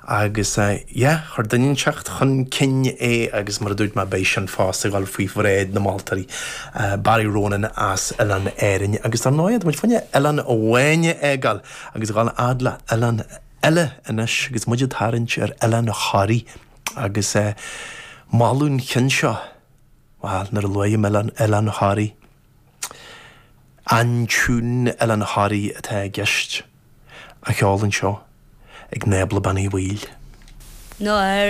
Agus yeah, chuir duine inteacht chun cinn é agus mar a dúirt mé beidh sin fosta ag dul faoi bhráid na moltóirí, Barry Ronan as Oileán Árainn. Agus dar ndóigh, tá muid fá choinne oileán amháin a fhágáil agus a dhul fhad le oileán eile anois agus muid ag tarraingt ar Oileán Thoraí agus moladh an chinn seo, bhuel, nuair a luaim Oileán Thoraí, An tiún Oileán Thoraí atá i gceist, á cheol anseo ag Nábla Bean Uí Bhaoill. Nuair.